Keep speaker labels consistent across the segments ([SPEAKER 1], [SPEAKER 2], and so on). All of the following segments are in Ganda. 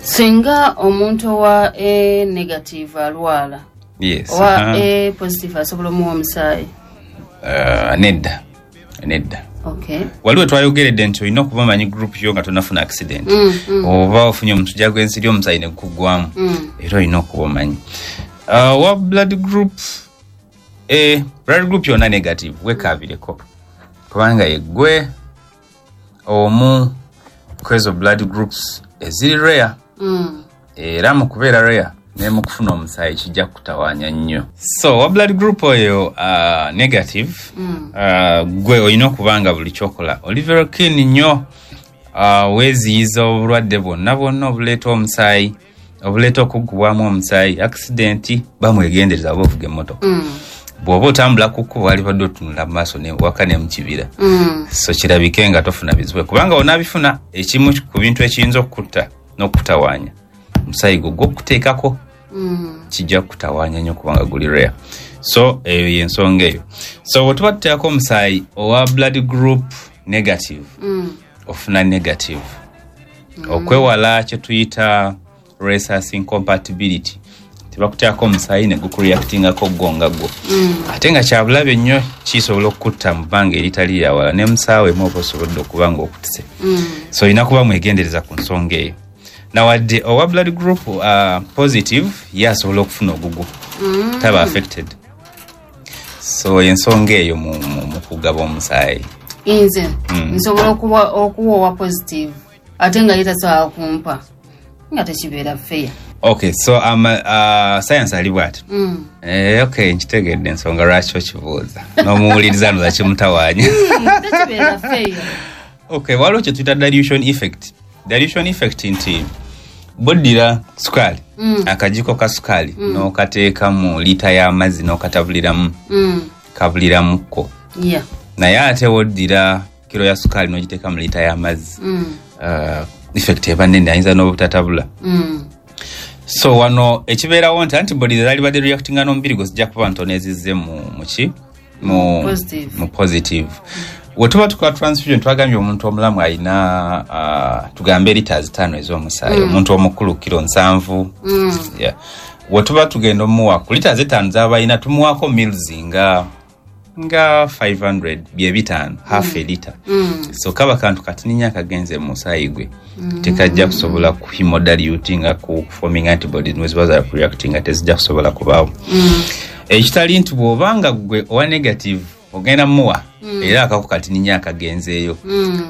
[SPEAKER 1] Singa omuntu owa A negative alwala,
[SPEAKER 2] Yes.
[SPEAKER 1] owa
[SPEAKER 2] Aha.
[SPEAKER 1] A positive asobola omuwa omusaayi?
[SPEAKER 2] Nedda, nedda. Waliwo twayogeredde nti olina okuba omanyi group yo nga tonafuna accident oba ofunye omusujja gw'ensiri, omusaayi ne gukuggwamu, era olina okuba omanyi. Wa blood group A, blood group yonna negative, wekaabireko kubanga yeggwe omu kwezo blood groups eziri rare. Era mu kubeera rare ne mu kufuna omusaayi kijja kutawaanya nnyo. So wa blood group oyo negative, gwe olina okuba nga buli kyokola oli very keen nnyo, weeziyiza obulwadde bwonna bwonna obuleeta omusaayi, obuleeta okuggubwamu omusaayi. Accident, bamwegendereza oba ovuga emmotoka, bw'oba otambula ku kkubo, walibadde otunula mu maaso waka ne mu kibira, so kirabike nga tofuna bizibu, kubanga onaabifuna, ekimu ku bintu ekiyinza okukutta n'okukutawaanya, omusaayi gwo gwokuteekako kijja kukutawaanya nnyo kubanga guli rare. So eyo yensonga eyo. So bwe tuba tuteekako omusaayi owa blood group negative, ofuna negative, okwewala kye tuyita rhesus incompatibility. Tebakuteekako omusaayi ne gukureactingako gwo nga gwo, ate nga kyabulabe nnyo, kisobola okukutta mu bbanga eritali lyawala, ne musaawa emu oba osobodde okuba nga okutise. So olina kuba mwegendereza ku nsonga eyo. Nawadde owa blood group positive, ye asobola okufuna ogugwo, taba affected. So ensonga eyo mu kugaba omusaayi.
[SPEAKER 1] Nze nsobola okuwa owa positive ate nga ye tasobola kumpa, nga tekibeera fair.
[SPEAKER 2] Okay, so science ali bwati. Okay, nkitegedde ensonga lwaki okibuuza, n'omuwuliriza noza kimutawaanya.
[SPEAKER 1] Tekibeera fair.
[SPEAKER 2] Okay, waliwo kye tuyita dilution effect. Dilution effect nti boddira sukaali, akajiko ka sukaali, n'okateeka mu liita y'amazzi n'okatabuliramu, kabuliramuko. Naye ate woddira kiro ya sukaali n'ogiteeka mu liita y'amazzi, effect eba nene, ayinza n'obutatabula. So wano ekibeerawo nti antibodies ezalibadde reactinga n'omubiri gwe zijja kuba ntono ezizze mu muki mu
[SPEAKER 1] Positive.
[SPEAKER 2] Mu positive. We tuba tukola transfusion, twagambye omuntu omulamu alina tugambe liters 5 ez'omusaayi, omuntu omukulu kiro 70. Yeah. We tuba tugenda omuwa ku liters 5 z'aba alina, tumuwaako mils nga 500, bye 500, half a liter. So kaba kantu katini akagenze mu musaayi gwe, tekajja kusobola ku hemodilutinga, ku forming antibodies neziba za reactinga tezijja kusobola kubaawo. Ekitali nti bw'obanga gwe owa negative ogenda muwa, era akako katini akagenzeeyo.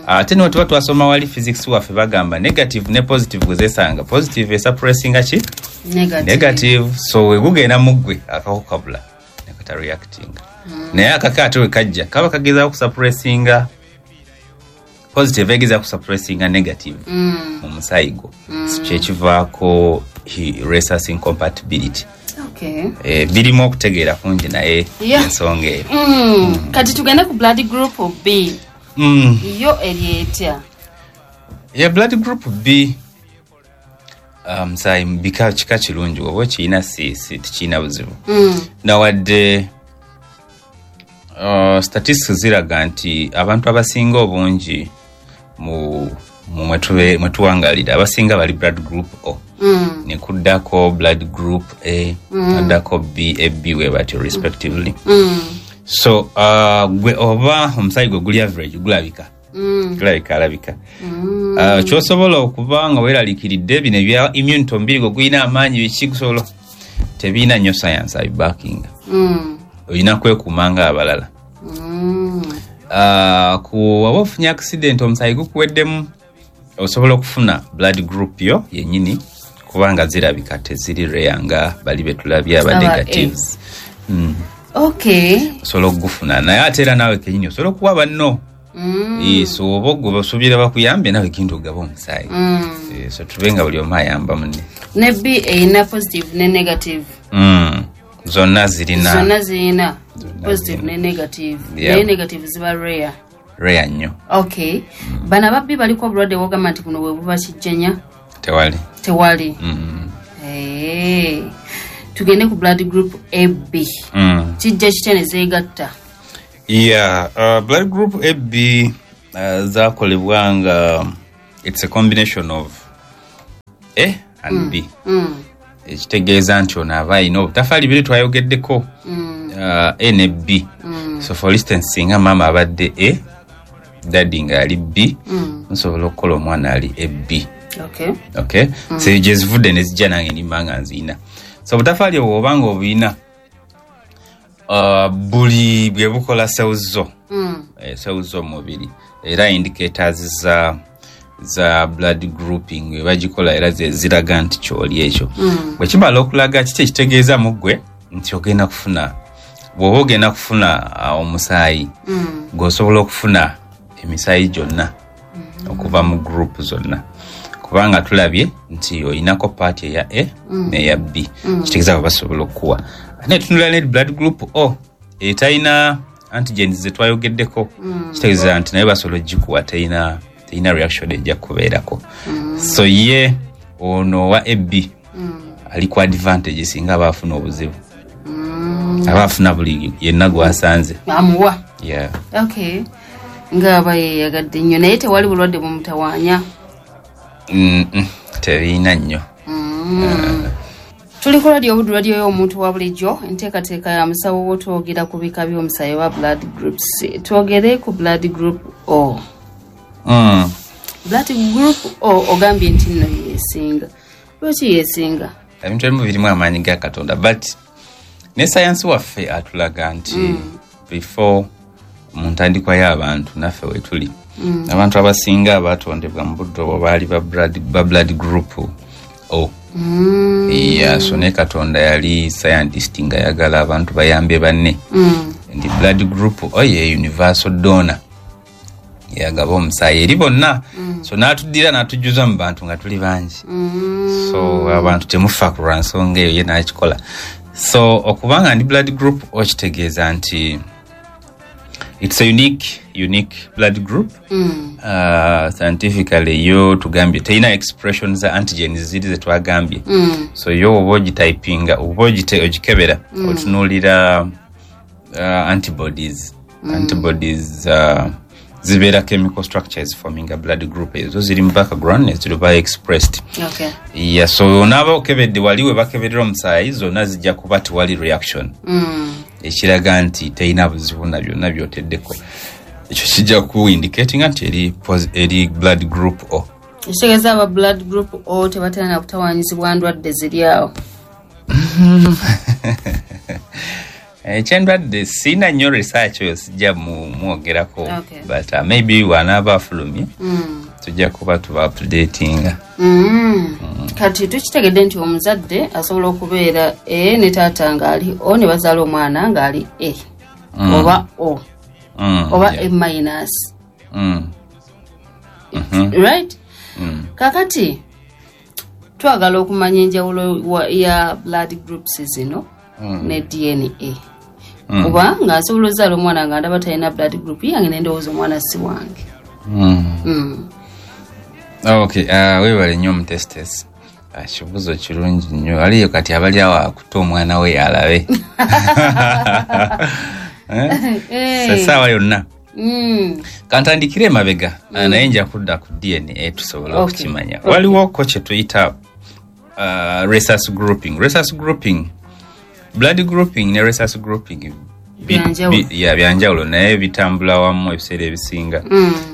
[SPEAKER 2] Ate niwe tuba twasoma wali physics waffe, bagamba negative ne positive gwe zesanga, positive esuppressinga ki?
[SPEAKER 1] Negative.
[SPEAKER 2] Negative. So we gugenda mu ggwe, akako kabula nekata reactinga. Naye akako ate we kajja kaba kagezaako kusuppressinga positive, egezaako kusuppressinga negative mu musaayi gwo. Kyekivaako rhesus incompatibility. Birimu okutegeera kungi, naye ensonga eyo.
[SPEAKER 1] Kati tugende ku blood group B. Yo eri etya?
[SPEAKER 2] Ya, blood group B, musaayi bika kika kirungi, oba okirina si tekirina buzibu. Nawadde statistics ziraga nti abantu abasinga obungi mu mwetuwangalira, abasinga bali blood group O, nekuddako blood group A, naddako B, A, B, we batyo respectively. So gwe oba omusaayi gwe guli average, gulabika, gulabika alabika. Kyosobola okuba nga weeraliikiridde bino ebya immunity, omubiri gwe gulina amaanyi, biki, gusobola, tebirina nnyo science abibackinga. Olina kwekuuma nga abalala. Ku waba ofunye accident, omusaayi gukuweddemu, osobola okufuna blood group yo yennyini kubanga zirabika teziri rare nga bali betulabye aba
[SPEAKER 1] Aba A.
[SPEAKER 2] negatives. Osobola okugufuna, naye ate era naawe kenyini osobola okuwa banno. So oba gwe basuubira bakuyambe, nawe kintu ogaba omusaayi. So tube nga buli omu ayamba munne.
[SPEAKER 1] Ne B erina positive ne negative.
[SPEAKER 2] Zonna zirina.
[SPEAKER 1] Zonna zirina
[SPEAKER 2] Zonna
[SPEAKER 1] positive
[SPEAKER 2] zirina.
[SPEAKER 1] ne negative. Naye negative ziba rare.
[SPEAKER 2] Rare nnyo.
[SPEAKER 1] Okay, bano aba B baliko obulwadde bwogamba nti buno bwe buba kijjanya?
[SPEAKER 2] Tewali.
[SPEAKER 1] Tewali. Tugende ku blood group AB. Kijja kitya ne zeegatta?
[SPEAKER 2] Yeah, blood group AB zakolebwa nga it's a combination of A and B. Ekitegeeza nti ono aba alina obutafaali biri twayogeddeko, A ne B. So for instance, singa maama abadde A, daddy nga ali B, nsobola okukola omwana ali AB. Okay. So gyezivudde nezijja nange nimba nga nziina. So obutafaali obwo obanga obuyina, buli bwe bukola cells zo, cells z'omubiri, era indicators za blood grouping bagikola, era ziraga nti kyoli ekyo. Bwe kimala okulaga kiki ekitegeeza mu ggwe nti ogenda kufuna, bw'oba ogenda kufuna omusaayi, gweosobola okufuna emisaayi gyonna okuva mu group zonna, kubanga tulabye nti olinako part eya A n'eya B. Kitegeeza basobola okukuwa. Ate tunula ne blood group O etalina antigens zetwayogeddeko, kitegeeza nti naye basobola ogikuwa, terina reaction ejja kubeerako. So ye ono owa AB ali ku advantage singa aba afuna obuzibu, aba afuna buli yenna gwasanze.
[SPEAKER 1] Amuwa.
[SPEAKER 2] Yeah.
[SPEAKER 1] Okay, ngaaba yeyagadde nnyo, naye tewali bulwadde bumutawaanya?
[SPEAKER 2] Terina nnyo.
[SPEAKER 1] Tuli ku Radio Buddu, radio y'omuntu wa bulijjo, enteekateeka ya musawo wo. Twogera ku bika by'omusaayi oba blood groups. Twogere ku blood group O. Blood group O ogambye nti nno yeesinga. Lwaki yeesinga?
[SPEAKER 2] Ebintu ebimu birimu amaanyi ga Katonda, but ne sayansi waffe atulaga nti before mu ntandikwa y'abantu naffe wetuli, abantu abasinga abatondebwa mu budde obwo baali ba blood group O. Yeah, so ne Katonda yali scientist nga yagala abantu bayambe banne. Nti blood group O ye universal donor, yagaba omusaayi eri bonna. So n'atuddira n'atujjuza mu bantu nga tuli bangi. So abantu temufa ku lwa nsonga eyo, ye n'akikola. So okubanga ndi blood group O kitegeeza nti it's a unique blood group. Scientifically yo tugambye terina expression za antigens ziri zetwagambye. So yo oba ogitypinga oba ogikebera, otunuulira antibodies. Antibodies zibeera chemical structures forming a blood group. Ezo ziri mu background neziruba expressed. Yeah, so onaaba okebedde wali we bakeberera omusaayi, zonna zijja kuba tewali reaction, ekiraga nti terina buzibu na byonna byoteddeko. Ekyo kijja ku indicatinga nti eri blood group O.
[SPEAKER 1] Ekitegeeza aba blood group O tebatera na kutawaanyizibwa ndwadde ziri awo?
[SPEAKER 2] Ekyendwadde siina nnyo research oyo, sijja mwogerako. But maybe wanaaba afulumye, tujja kuba tuba updatinga.
[SPEAKER 1] Kati tukitegedde nti omuzadde asobola okubeera A ne taata ng'ali O, ne bazaala omwana ng'ali A oba O oba A minus. Right? Kakati twagala okumanya enjawulo ya blood groups zino ne DNA, kuba nga nsobola ozaala omwana nga ndaba talina blood group yange, nendowooza omwana si wange.
[SPEAKER 2] Okay, weebale nnyo omutestesi. Kibuuzo kirungi nnyo. Aliyo kati abali awo akutte omwana we alabe. Eh? Essaawa yonna. Kantandikire emabega, naye nja kudda ku DNA tusobole okukimanya. Waliwo ko kye tuyita rhesus grouping. Rhesus grouping, blood grouping ne rhesus grouping
[SPEAKER 1] Byanjawulo.
[SPEAKER 2] Ya, byanjawulo, naye bitambula wamu ebiseera ebisinga.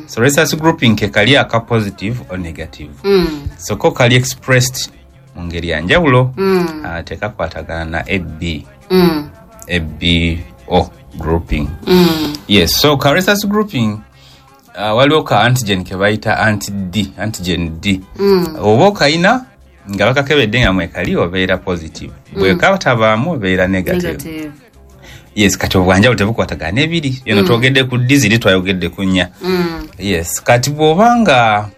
[SPEAKER 2] So rhesus grouping ke kali aka positive or negative. So ko kali expressed mu ngeri ya njawulo, tekakwatagana na AB, ABO grouping. Yes, so ka rhesus grouping, waliwo ka antigen ke bayita anti D, antigen D. Oba okayina nga bakakebedde nga mwekali, obeera positive, bwe katabaamu obeera negative.
[SPEAKER 1] Negative.
[SPEAKER 2] Yes, kati obwanjawulo tebukwatagana n'ebiri yeno. Twogedde ku D, ziri twayogedde ku nnya. Yes, kati bw'obanga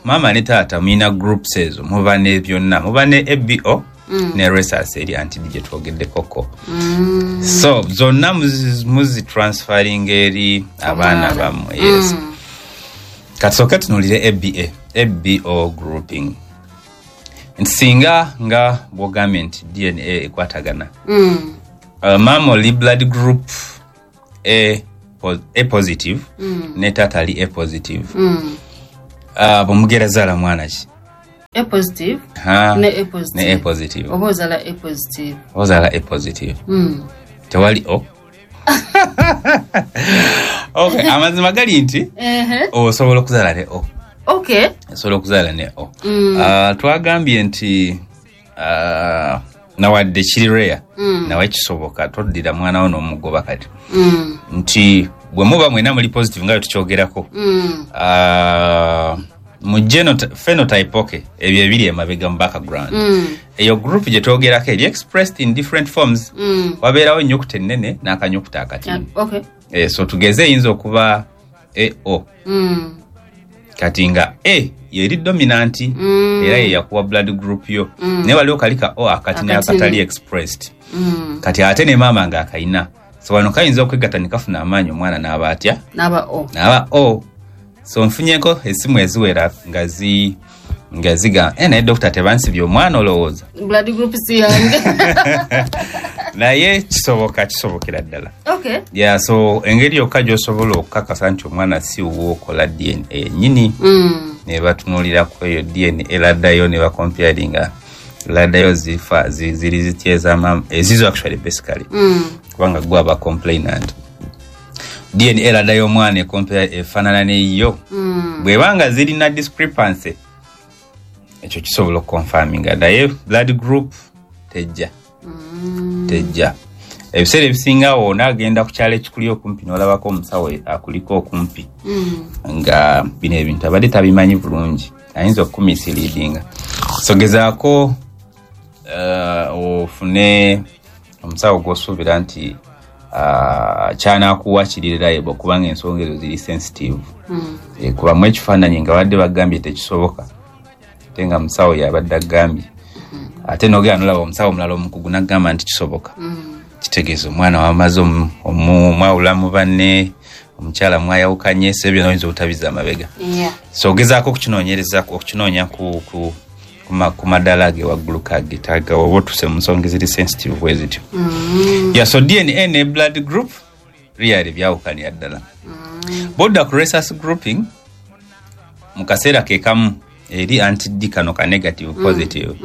[SPEAKER 2] maama ne taata mulina groups ezo, muba ne byonna, muba ne ABO ne rhesus eri anti D gye twogeddekoko. So zonna muzitransferring eri abaana
[SPEAKER 1] Omwana.
[SPEAKER 2] bammwe. Yes. Kati sooke tunuulire ABA, ABO grouping, nti singa nga bwogambye nti DNA ekwatagana, maama oli blood group A positive ne taata ali A positive, bwemugera zaala mwana ki?
[SPEAKER 1] A positive ne A positive.
[SPEAKER 2] Ne A positive.
[SPEAKER 1] Oba ozaala A positive.
[SPEAKER 2] Ozaala A positive. Tewali O. Okay, amazima gali nti osobola okuzaala ne O.
[SPEAKER 1] Okay.
[SPEAKER 2] Osobola okuzaala ne O. Twagambye nti nawadde kiri rare, nawe kisoboka toddira mwana wo n'omugoba kati. Nti bwe muba mwena muli positive nga tukyogerako. Mu phenotype, okay, ebyo ebiri emabega mu background. Eyo group gye twogerako eri expressed in different forms. Wabeerawo ennyukuta ennene n'akanyukuta akatini.
[SPEAKER 1] Okay.
[SPEAKER 2] So tugeze eyinza okuba AO. Kati nga A yeri dominant, era ye yakuwa blood group yo. Naye waliwo kali ka O akatini akatali expressed. Kati ate ne maama nga akayina. So wano kayinza okwegatta ne kafuna amaanyi omwana n'aba atya?
[SPEAKER 1] N'aba O.
[SPEAKER 2] N'aba O. So nfunyeko esimu eziwera nga ziga naye dokita tebansibye omwana olowooza.
[SPEAKER 1] Blood group si yange.
[SPEAKER 2] Naye kisoboka, kisobokera ddala.
[SPEAKER 1] Okay.
[SPEAKER 2] Yeah, so engeri yokka gy'osobola okukakasa nti omwana si wuwo okola DNA nnyini. Ne batunuulira ku eyo DNA laddayo ne bacomparinga laddayo zifa ziri zitya ez'amaama ezizo actually basically. Kubanga gwe aba complainant. DNA laddayo omwana ekompera efaanana n'eyiyo. Bw'ebanga zirina discrepancy ekyo kisobola okuconfirminga, naye blood group tejja. Tejja. Ebiseera ebisinga wona agenda ku kyalo ekikuli okumpi n'olabako omusawo akuliko okumpi nga bino ebintu abadde tabimanyi bulungi, ayinza okumisleadinga. So gezaako ofune omusawo gw'osuubira nti kyanakuwa kiri reliable, kubanga ensonga ezo ziri sensitive. Kubamu ekifaananyi nga badde bagambye tekisoboka, ate nga musawo yabadde agambye, ate n'ogenda n'olaba omusawo omulala omukugu n'agamba nti kisoboka. Kitegeeza omwana wamaze omwawula mu banne, omukyala mwayawukanye, so ebyo n'oyinza obutabiza amabega. So ogezaako okukinoonyereza, okukinoonya ku maddaala ge waggulu kagetaaga oba otuse mu nsonga eziri sensitive bwe zityo. Yeah, so DNA ne blood group really byawukanira ddala. Bodda ku rhesus grouping mu kaseera ke kamu eri anti-D kano ka negative positive.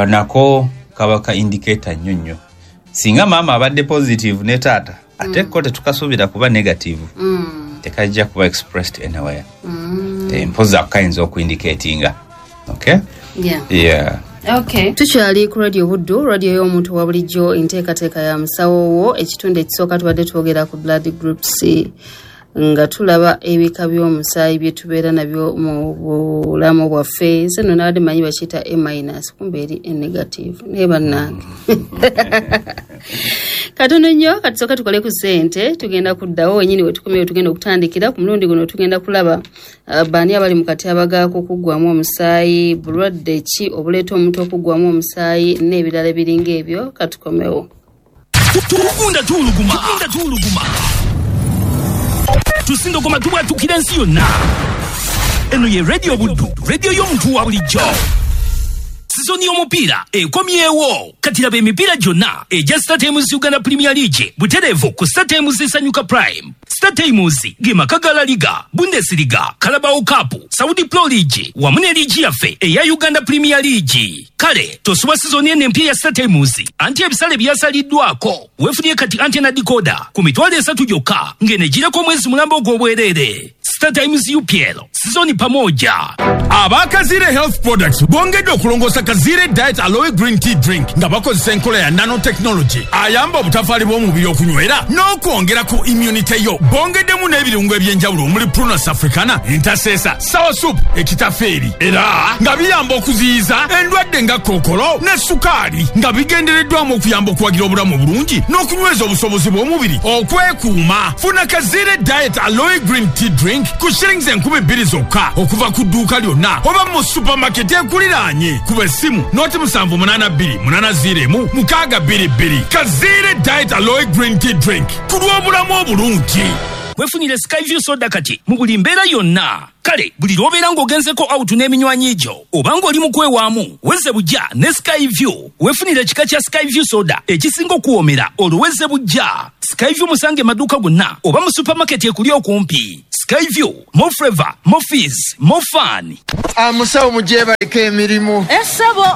[SPEAKER 2] Nako kaba ka indicator nnyo nnyo. Singa maama abadde positive ne taata, ate ko tetukasuubira kuba negative, tekajja kuba expressed anywhere. Mpozi ako kayinza okuindicatinga. Okay?
[SPEAKER 1] Yeah.
[SPEAKER 2] Yeah.
[SPEAKER 1] Okay. Tukyali ku Radio Buddu, radio y'omuntu wa bulijjo, enteekateeka ya musawo wo. Ekitundu ekisooka tubadde twogera ku blood groups nga tulaba ebika by'omusaayi bye tubeera nabyo mu bulamu bwaffe. Nze nno nabadde manyi bakiyita A minus, kumbe eri A negative. Naye bannange. Katono nnyo, katusooke tukole ku ssente, tugenda kuddawo wennyini we tukomyewo, tugenda okutandikira. Ku mulundi guno tugenda kulaba baani abali mu katyabaga k'okuggwamu omusaayi, bulwadde ki obuleeta omuntu okuggwamu omusaayi n'ebirala ebiringa ebyo. Katukomewo.
[SPEAKER 3] Tugunda tuwuluguma. Tugunda tuwuluguma. Tusindogoma tubwatukira ensi yonna. Eno ye Radio Buddu, radio y'omuntu wa bulijjo. Sizoni y'omupiira ekomyewo. Kati laba emipiira gyonna egya StarTimes Uganda Premier League butereevu ku StarTimes Sanyuka Prime. StarTimes ge maka ga La Liga, Bundesliga, Carabao Cup, Saudi Pro League wamu ne liigi yaffe eya Uganda Premier League. Kale tosubwa sizoni eno empya ya StarTimes anti ebisale byasaliddwako. Weefunye kati antenna decoder ku 300,000 gyokka ng'enegireko omwezi mulamba ogw'obwereere. StarTimes UPL sizoni pamoja.
[SPEAKER 4] Abakazire Health Products bongedde okulongoosa Kazire Diet Aloe Green Tea Drink nga bakozesa enkola ya nanotechnology ayamba obutafaali bw'omubiri okunywera n'okwongera ku immunity yo. Bongeddemu n'ebirungo eby'enjawulo omuli Prunus africana, entaseesa, sour soup, ekitafeeri, era nga biyamba okuziyiza endwadde nga kookolo ne sukaali, nga bigendereddwamu okuyamba okuwagira obulamu obulungi n'okunyweza obusobozi bw'omubiri okwekuuma. Funa Kazire Diet Aloe Green Tea Drink ku shillings 2,000 zokka okuva ku dduuka lyonna oba mu supermarket ekuliraanye. Kuba essimu 0782 801 622. Kazire Diet Aloe Green Tea Drink ku lw'obulamu obulungi.
[SPEAKER 3] Weefunire Skyview soda kati mu buli mbeera yonna. Kale buli lw'obeera ng'ogenzeko out n'eminywanyi gyo oba ng'oli mu kwewaamu, wezze bujja ne Skyview. Weefunire ekika kya Skyview soda ekisinga okuwoomera olwo wezze bujja. Skyview musange maduuka gonna oba mu supermarket ekuli okumpi. Skyview, more flavor, more fees, more fun.
[SPEAKER 5] Amusawo mujebaleko emirimu.
[SPEAKER 6] Essebo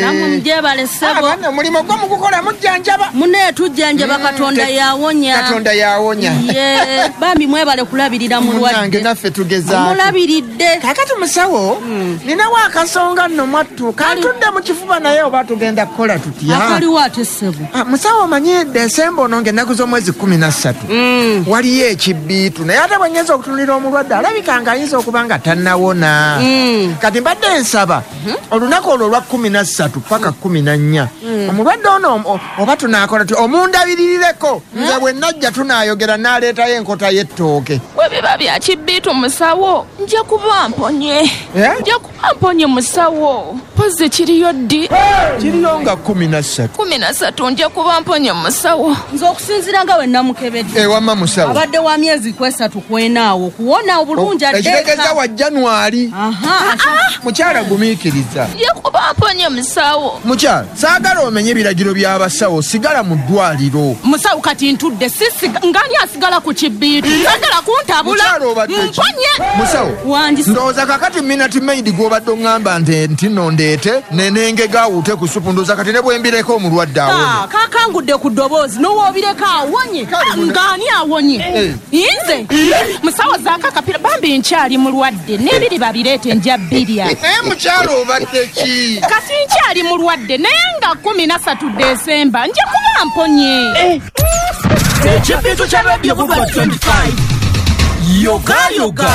[SPEAKER 6] namwe mujebale ssebo.
[SPEAKER 5] Abaana omulimu gwo mugukola mujjanjaba.
[SPEAKER 6] Munne tujjanjaba, Katonda yawonya.
[SPEAKER 5] Katonda yawonya.
[SPEAKER 6] Ye bambi mwebale kulabirira mulwadde.
[SPEAKER 5] Munange naffe tugezaako.
[SPEAKER 6] Mulabiridde.
[SPEAKER 5] Kakati musawo, ninawo akasonga nno mwattu kantudde mu kifuba, naye oba tugenda kukola tutya?
[SPEAKER 6] Akaliwo ate ssebo?
[SPEAKER 5] Musawo, omanyi Desemba ono ng'ennaku z'omwezi 13 waliyo ekibbiitu, naye ate bwe nnyinza okutunulira omulwadde alabika nga ayinza okuba nga tannawona. Kati mbadde nsaba olunaku olwo olwa 13 paka 14 omulwadde ono oba tunaakola ti omundabiririreko, nze bwe najja tunaayogera n'aleetayo enkota y'ettooke.
[SPEAKER 7] Bwe biba bya kibbiitu musawo, nja kuba mponye. Nja kuba mponye musawo. Pozi kiriyo ddi?
[SPEAKER 5] Kiriyo nga 13.
[SPEAKER 7] 13 nja kuba mponye musawo.
[SPEAKER 6] Nze okusinziira nga we namukebedde,
[SPEAKER 5] ewamma musawo,
[SPEAKER 6] abadde wa myezi 3 kwenaawo kuwona obulungi adde.
[SPEAKER 5] Ekitegeeza wa January. Mukyala gumiikiriza.
[SPEAKER 7] Nja kuba mponye musawo.
[SPEAKER 5] Mukyala, saagala omenye ebiragiro by'abasawo, sigala mu ddwaliro.
[SPEAKER 6] Musawo, kati ntudde ngani asigala ku kibbiitu, sagala kuntabula.
[SPEAKER 5] Mukyala, obadde ki?
[SPEAKER 6] Mponye.
[SPEAKER 5] Musawo,
[SPEAKER 6] Wangi.
[SPEAKER 5] ndowooza kakati Minute Maid gw'obadde oŋŋamba nti nno ndeete nenengega awuute ku supu, ndowooza kati ne bwembireko omulwadde awone.
[SPEAKER 6] Kakangudde ku ddoboozi n'owoobireko awonye.
[SPEAKER 5] Kale
[SPEAKER 6] Ng'ani awonye? Nze musawo, zaako akapira bambi, nkyali mulwadde n'ebiri babireete nja bbirya.
[SPEAKER 5] Naye mukyala, obadde ki?
[SPEAKER 6] Kati nkyali mulwadde, naye nga 13 Desemba nja kuba mponye.
[SPEAKER 3] Ekibbiitu kya Radio Buddu 25. Yoga yoga.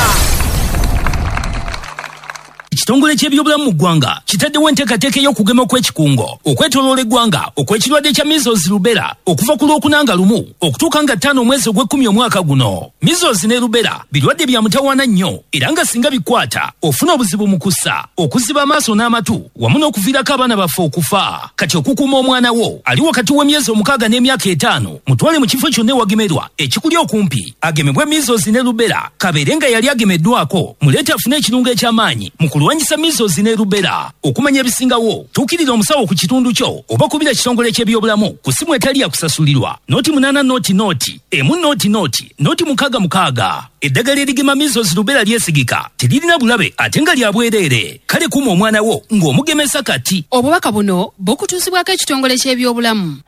[SPEAKER 3] Ekitongole ky'ebyobulamu mu ggwanga kitaddewo enteekateeka ey'okugema okw'ekikungo okwetooloola eggwanga okw'ekirwadde kya measles, rubella okuva ku Lwokuna nga 1 okutuuka nga 5 omwezi ogw'ekkumi omwaka guno. Measles ne rubella birwadde bya mutawaana nnyo, era nga singa bikwata ofuna obuzibu mu kussa, okuziba amaaso n'amatu wamu n'okuviirako abaana baffe okufa. Kati okukuuma omwana wo ali wakati w'emyezi 6 n'emyaka 5, mutwale mu kifo kyonna ewagemerwa ekikuli okumpi agemebwe measles ne rubella, kabeere nga yali agemeddwako, muleete afune ekirungo eky'amaanyi mu kulwanyisa measles ne rubella. Okumanya ebisingawo, tuukirira omusawo ku kitundu kyo oba kubira kitongole ky'ebyobulamu ku simu etali ya kusasulirwa 080 0 1 0 0 0 66. Eddagala erigema measles, rubella lyesigika, teririna bulabe ate nga lya bwereere. Kale kuuma omwana wo ng'omugemesa kati.
[SPEAKER 1] Obubaka buno bukutuusibwako ekitongole ky'ebyobulamu.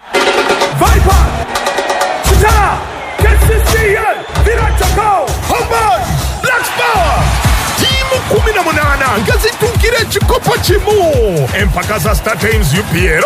[SPEAKER 8] Viper, Kitara, KCCA, Villa Chakao, Hamburg, Black Power. Tiimu 18 nga zituukira ekikopo kimu. Empaka za Star Times UPL.